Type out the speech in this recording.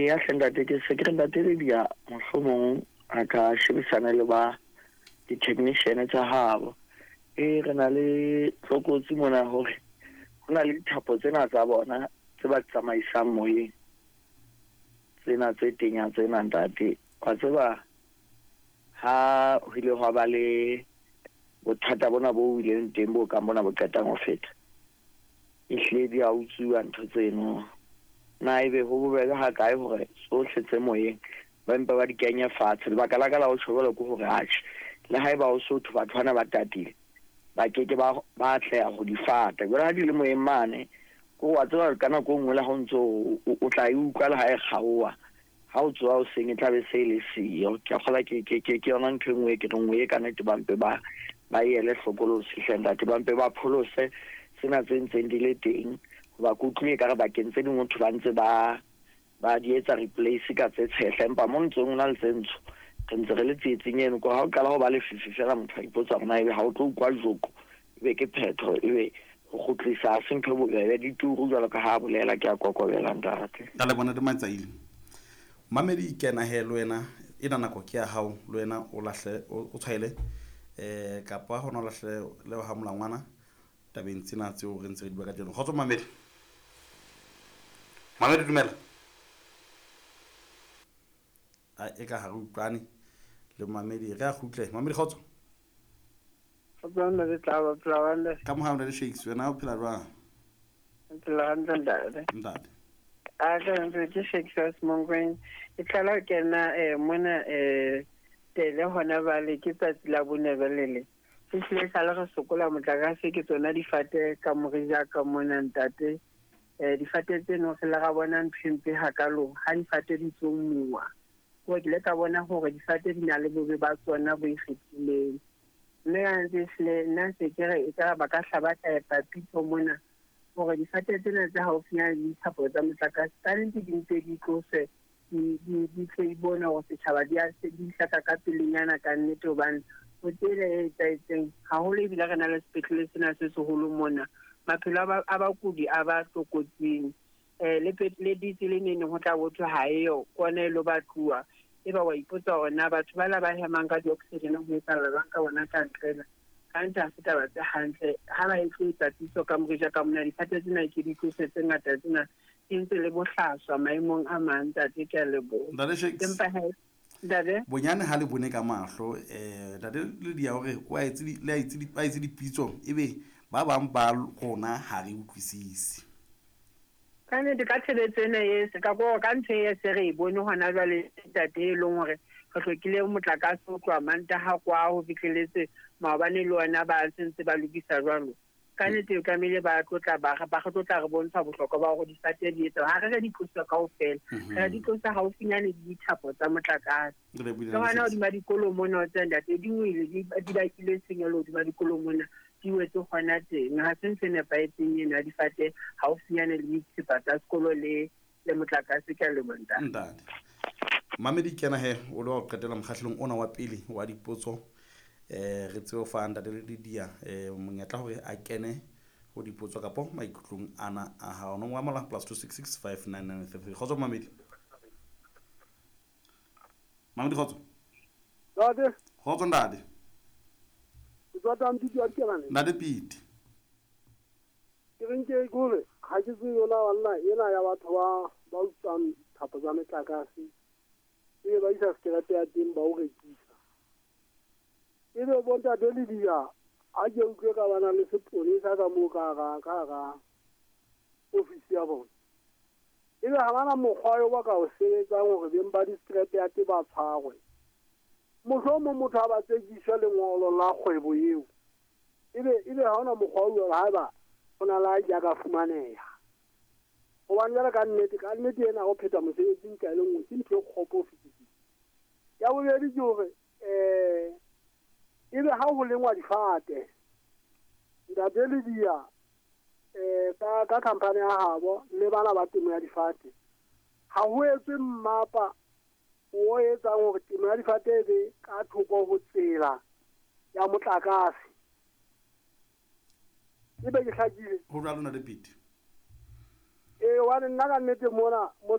Eya hle ntate, ke se ke re ntate Lydia mohlomong a ka shebisana le ba di-technician tsa habo. E re na le tlokotsi mona hore ho na le dithapo tsena tsa bona tse ba tsamaisang moyeng. Tsena tse tenya tsena ntate. Wa tseba ha ho ile hwa ba le bothata bona bo bileng teng bo kang bona bo qetang ho feta. Ehlile di a utsuwa ntho tseno. Na ebe ho bobebe ha kae hore tsohle tse moyeng ba mpe ba di kenye fatshe. Lebaka la ka la ho tjho jwalo ke hore atjhe le haeba ho sotho batho bana ba tatile ba ke ke ba ba atleha ho di fata. Jwale ha di le moyeng mane ko wa tseba ka nako e nngwe le ha o ntso o tla e utlwa le ha e kgaoha. Ha o tsoha hoseng e tla be se e le siyo. Ke a kgolwa ke yona ntho e nngwe e ke reng o ye ka nnete ba mpe ba ba ele hlokolosi hle ntate, ba mpe ba pholose tsena tse ntseng di le teng. Hoba ke utlwile ekare bakeng tse ding ho thwe ba ntse ba ba di etsa replace ka tse tshehla, empa mo ntsong ho na le tse ntsho. Re ntse re le tsietsing eno. Ko ha o qala ho ba lefifi fela motho a ipotsa hore na ebe ha o tlo utlwa joko ebe ke phetho, ebe ho kgutlisa ha se ntho e bobebe. Di turu jwalo ka ha a bolela, ke a kokobela ntate. Ka le bona Matsaile. Mamedi kena he le wena, ena nako ke ya hao, le wena o lahle o tshwaele kapa hona o lahle le ha molangwana tabeng tsena tseo re ntse re di bua ka teng. Kgotso mamedi. Mamedi dumela. A e ka ha re utlwane le mamedi, re a kgutle. Mamedi kgotso. Kgotso ntate Tlaba, phela hantle. Ka mohau le Shakes, wena o phela jwang? Phela hantle ntate. Ntate. A tla ntse ke Shakes wa Semonkong. Ke tlala ho kena mona tele hona bale ke tsatsi la bone jwale le. Ehlile sale re sokola motlakase ke tsona difate ka morija ka mona ntate. Difate tseno re le ra bona ntho e mpe hakalo ha difate di tsomuwa. Ko ke ile ka bona hore difate di na le bobe ba tsona bo ikgethileng. Mme ka ntse ehlile nna se ke re ekare ba ka hla ba tla epa pitso mona hore difate tsena tse haufinyana le dithapo tsa motlakase ka nnete di mpe di tloswe, di tle di bone hore setjhaba di a di hlaka ka pelenyana ka nnete, hobane ho tsela e etsahetseng haholo ebile re na le sepetlele sena se seholo mona. Maphelo a bakudi a ba tlokotsing. Le ditse le neng ho tla bothwe ha eyo kwana e lo batluwa. Eba wa ipotsa hore na batho ba la ba hemang ka di-oxygen ho etsahala jwang ka bona ka ntle. Ka ntse ha se taba tse hantle. Ha ba e tlo etsa pitso ka morija ka mona, difate tsena ke di tlose tse ngata tsena di ntse le bohlaswa maemong a mang ntate, ke a leboha. Ntate Shakes. Empa he ntate bonyane ha le bone ka mahlo ntate Lydia hore o a etse le a etse ba etse dipitso ebe ba bang ba rona ha re utlwisise. Ka nnete ka tshebetso ena e se ka ko ka ntho e se re e bone hona jwale ntate, e leng hore re hlokile motlakase ho tloha Mantaha kwa ho fihleletse maobane le ona ba sentse ba lokisa jwalo. Ka nnete o tlamehile ba tlotla ba ba re tlotla re bontsha bohlokwa ba hore difate di etsa ha re re di tloswa kaofela, re di tlosa haufinyane le dithapo tsa motlakase. Le hona hodima dikolo mona o tseba ntate di wele di bakile tshenyehelo hodima dikolo mona, di wetse hona teng. Ha se ntho e nepahetseng eno ya difate haufinyane le dithepa tsa sekolo le motlakase. Ke a leboha ntate. Ntate. Mamedi kena he o le wa ho qetela mokgahlelong ona wa pele wa dipotso. Re tsebe ho fa ntate Lydia monyetla hore a kene ho dipotso kapo maikutlong ana a hao. Nomoro ya mohala +266 599 33. Kgotso mamedi. Mamedi kgotso. Ntate. Kgotso ntate. Ke tswa Tampiti wa Dikelane. Ntate Pete. Ke reng ke kore ha ke tsebe yona banna ena ya batho ba utswang thapo tsa metlakase. Ebe ba isa sekerepe ya teng ba o rekisa. Ebe bo ntate Lydia ha ke utlwe ka bana le seponesa ka moo ka hara ofisi ya bona. Ebe ha bana mokgwa eo ba ka o sebetsang hore beng ba di-scrap yard ba tshwarwe. Mohlomong motho ha ba tsekiswa lengolo la kgwebo eo. Ebe ha hona mokgwa o jwalo haeba ho na le a ja ka fumaneha. Hobane jwale ka nnete ena ho pheta mosebetsing ka e le nngwe ke ntho e kgopo ho fetisisa. Ya bobedi ke hore ebe ha ho lengwa difate ntate Lydia ka company ya habo le bana ba temo ya difate ha ho etswe mmapa o etsang hore temo ya difate e be ka thoko ho tsela ya motlakase. Ebe ke hlakile ho jwalo ntate Pete. Hobane nna ka nnete mona mo